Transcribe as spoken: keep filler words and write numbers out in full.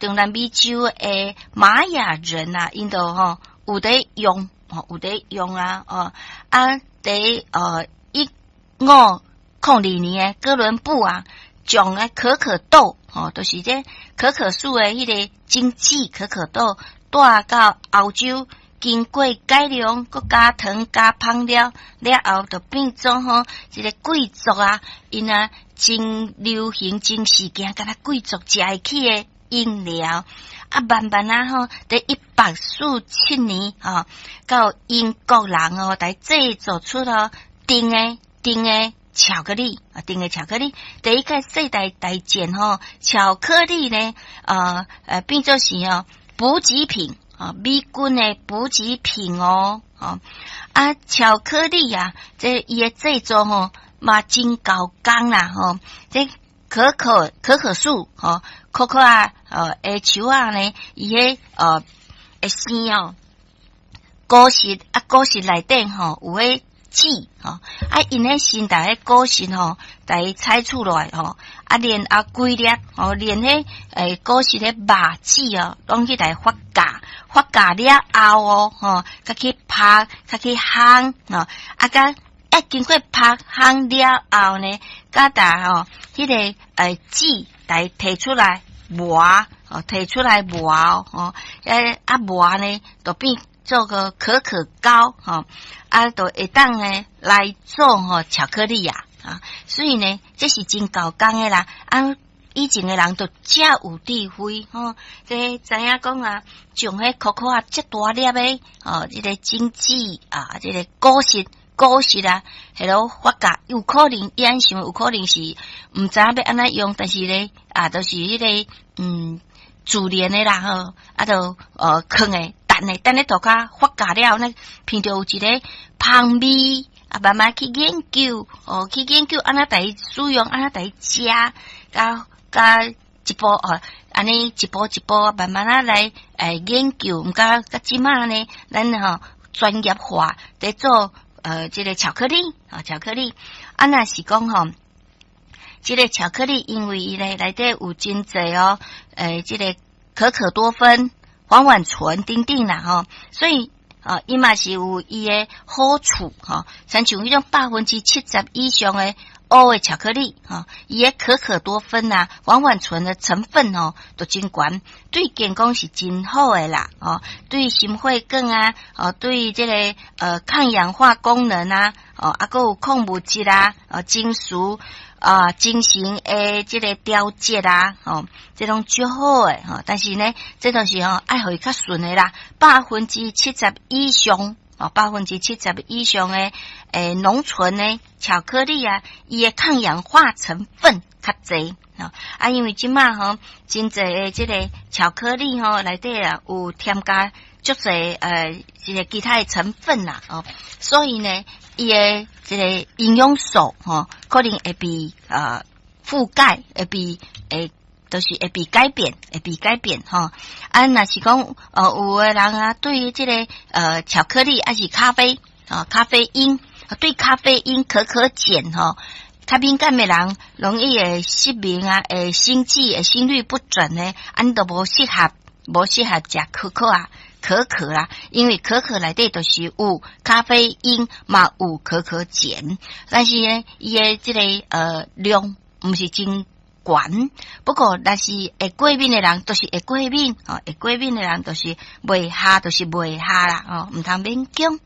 中南美洲的瑪雅人啊，𪜶都吼有佇用，吼有佇用啊，哦啊，佇呃一五空二年的哥倫布啊，將个可可豆，吼，就是這可可樹的彼个種子可可豆帶到歐洲，經過改良，閣加糖加香料了後，就變做吼一个貴族啊，𪜶啊真流行真時行，敢若貴族食會起的飲料。啊，慢慢啊吼，佇一八四七年吼，到英國人哦，來製作出了甜的甜的巧克力啊，甜的巧克力，第一個世界大戰吼，巧克力呢，呃呃，變做是哦補給品啊，美軍的補給品哦，哦啊，巧克力啊，這伊的製作吼嘛真猴工啦吼，這可可可可樹吼，可可啊，呃，的樹仔呢，伊彼呃會生哦，果實啊，果實內底吼有彼籽吼，啊，𪜶彼先共彼果實吼，共伊採取落來吼，啊，然後規粒吼，連彼欸果實的肉籽哦，攏去來發酵，發酵了後哦，吼，才去拍，才去烘吼，啊，佮啊經過拍烘了後呢，佮共吼，彼个欸籽來提出來磨，哦，提出來磨吼，欸啊磨呢，就變做個可可膏，吼，啊，就會當呢來做吼巧克力啊，啊，所以呢，這是真猴工的啦，啊，以前的人都遮有智慧，吼，這知影講啊，將彼可可啊，遮大粒的，哦，這个種子啊，這个果實果實啊，彼落發酵，有可能伊按想，有可能是毋知影欲按怎用，但是咧啊，就是彼个嗯自然的啦吼，啊，就呃囥的等咧等咧塗跤發酵了，呢聞著有一个芳味啊，慢慢去研究哦，去研究按怎共伊使用，按怎共伊食，佮佮一步哦，按呢一步一步慢慢仔來欸研究，毋過到這馬呢，咱吼專業化佇做呃這个巧克力啊，巧克力啊，若是講吼，這个巧克力因為伊咧內底有真濟哦，欸，這个可可多酚、黃烷醇等等啦吼，所以啊，伊嘛是有伊的好處吼，親像彼種百分之七十以上的烏的巧克力吼，伊的可可多酚啊、黃烷醇的成分吼都真懸，對健康是真好的啦，哦，對心血管啊，哦，對這個呃抗氧化功能啊，哦，啊，閣有礦物質啊，哦，情緒啊，精神的這個調節啊，吼，這攏足好的吼。但是呢，這都是吼愛予伊較純的啦，百分之七十以上，哦，百分之七十以上的欸濃醇的巧克力啊，伊的抗氧化成分較濟啊，因為這馬吼真濟的這個巧克力吼內底啊有添加足濟呃這個其他的成分啦，哦，所以呢，伊的這個營養素吼可能會被呃覆蓋，會被會就是會被改變，會被改變吼。啊，若是講呃有的人啊，對於這個呃巧克力抑是咖啡啊，咖啡因對咖啡因可可鹼吼較敏感的人，容易會失眠啊，會心悸、會心律不整呢，按呢都無適合，無適合食可可啊。可可啦，因為可可內底就是有咖啡因嘛，有可可鹼，但是呢，伊的這個呃量毋是真懸。不過，若是會過敏的人，就是會過敏，哦，會過敏的人就是袂合，就是袂合啦，哦，毋通勉強。